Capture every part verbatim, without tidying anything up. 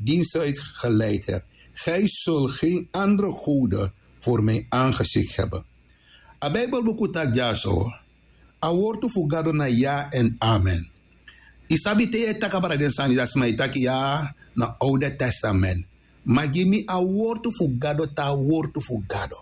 dienst uitgeleid hebt. Gij zult geen andere goden voor mijn aangezicht hebben. A Bijbelboek taki dyaso, a wortu fu Gado na ya en amen. I sabi te yu e taki abra den sani, dan sma e taki ya na Oude Testament. Ma gi mi a wortu fu Gado, te a wortu fu Gado.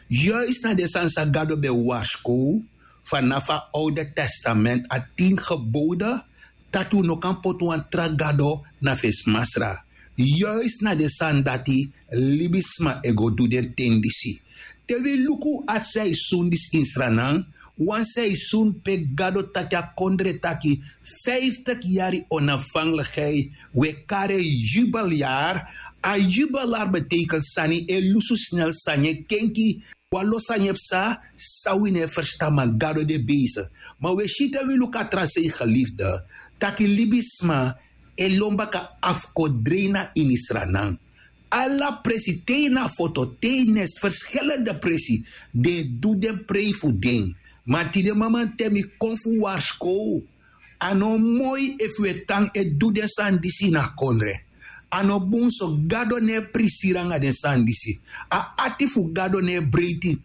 Juist na den sani san Gado ben warskow, fanafu a Oude Testament, a tin gebode, taki un no kan poti wan tra gado na fesi masra. Juist na den sani dati libisma e go du den ten disi. Te wi luku a seisun disi ini Sranan, wan seisun pe Gado taki a kondre taki, vijftig yari onafhankelijkheid, wi e kari en jubeljari. A jubeljari betekent sani e lusu snel, sani e kenki, wan lo sani e psa san wi no e ferstan, ma Gado de bezig. Ma wi e si te wi luku a tra sei, geliefde, taki libisma e lon baka afkodrei na ini Sranan. Ala presi, te na foto, te na verschillende presi, den e du den prei fu den. Ma tide mamanten mi kon fu warskow. A no moi efu wi e tan e du den sani disi na kondre. A no bun so. Gado no e prisiri anga den sani disi. A ati fu Gado no e breiti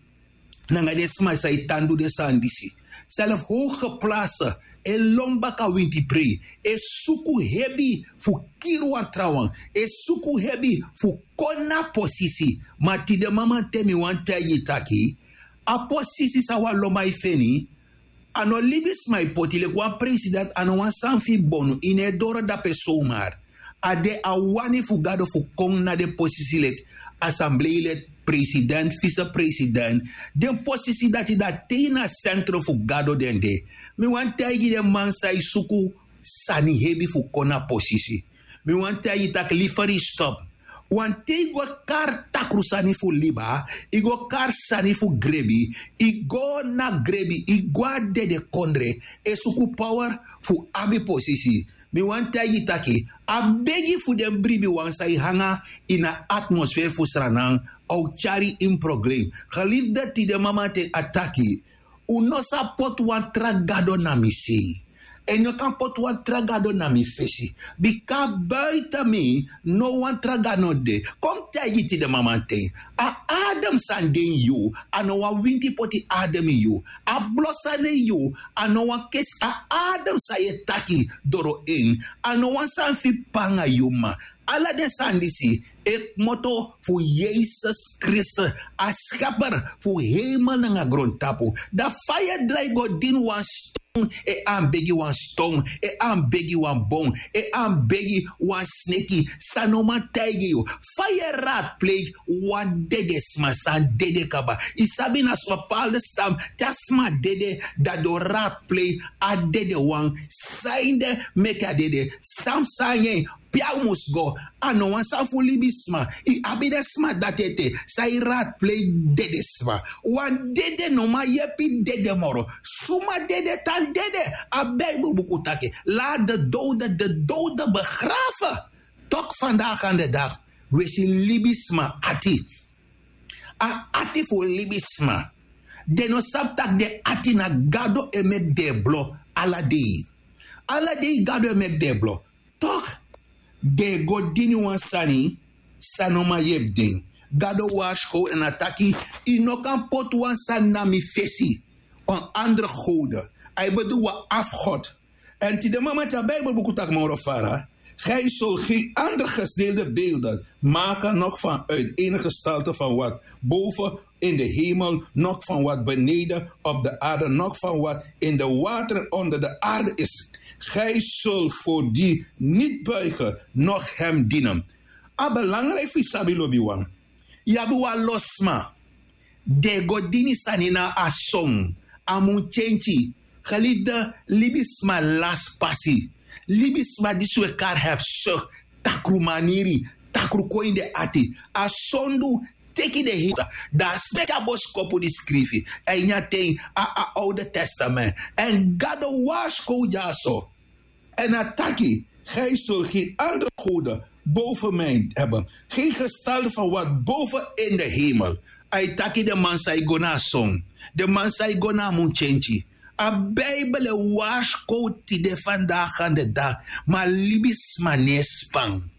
nanga den sma san e tan du den sani disi. Self hoge place e lon baka winti prei, e suku hebi fu kiri wan trawan, e suku hebi fu kon na posisi. Ma tide mamanten mi wani taigi yu taki, a posisi san wan lonman e feni, a no libisma e poti. Leki wan president, a no wan sani fu yu bonu, yu no e doro dape somar. A de a wani fu Gado fu kon na den posisi leki assembleelid, president, vicepresident. Den posisi dati, dati na centrum fu Gado den de. Mi wani taigi den man san e suku sani hebi fu kon na posisi. Mi wani taigi yu taki, liever yu stop. Want te yu go kari takru sani fu liba, yu go kari sani fu grebi, yu go na grebi, yu go a dede kondre, e suku power fu abi posisi. Mi wani taigi yu taki, a begi fu den bribiwan san e hanga ini a atmosfeer fu Sranan, a o tyari yu ini problem. Geliefde, tide mamanten a taki, un no sa poti wan tra gado na mi sei. En no kan poti wan tra gado na mi fesi. Bika buiten mi no wan tra gado no de. Kon mi taigi yu tide mamanten. A adem san de ini yu, a no wan winti poti adem ini yu. A blo san de ini yu, a no wan kesi. A adem san yu e taki doro en, a no wan sani fu panga yu, ma ala den sani disi e kmoto fu Yesus Kristus, a scheper fu hemel nanga grontapu. Dan fa yu e drai go dini wan ston, e an begi wan ston, e an begi wan bon, e an begi wan sneki, san no man taigi yu? Fa yu e raadpleeg wan dede sma san dede kaba? Yu sabi na so bepaalde stam, te a sma dede, dan den o raadpleeg a dede wan. San ede meki a dede? San mus nanga en? Pe a mus go? A no wan sani fu libisma. Yu abi den sma dati ete san e raadpleeg dede sma. Wan dede no man yepi dede moro. Suma dede tan dede? A Bijbelbuku taki, laat de doden de doden begraven. Toch vandaag aan de dag, wi e si libisma ati. A ati fu libisma. Den no sabi taki den ati na Gado e meki den e blo ala dei. Ala dei Gado e meki den e blo. Toch den e go dini wan sani san no man yepi den. Gado warskow en a taki, yu no kan poti wan sani na mi fesi. Wan andere gode. A e bedoel wan afgod. En tide mamanten, a Bijbelbuku taki moro fara: Gij zult geen andere gesneeuwde beelden maken, noch van uit ene gestalte van wat boven in de hemel, noch van wat beneden op de aarde, noch van wat in de wateren onder de aarde is. Gij zult voor die niet buigen, noch hem dienen. A belangrijk fu yu sabi, lobiwan. Yu abi wan lo sma. Den e go dini sani na a son, a muntyentyi. Geliefde, libisma lasi pasi. Libisma disi wi e kari hebzucht, takrumaniri, takru kon ini den ati. A sondu teki den heri. Dan a si meki a boskopu disi skrifi a ini a ten, a, a Oude Testament. En Gado warskow dyaso. En a taki: Gij zult geen andere goden boven mij hebben, geen gestalte van wat boven in de hemel. A e taki den man san e go na a son, den man san e go na a muntyentyi. A Bijbel e warskow tide, vandaag aan de dag, ma libisma no e span.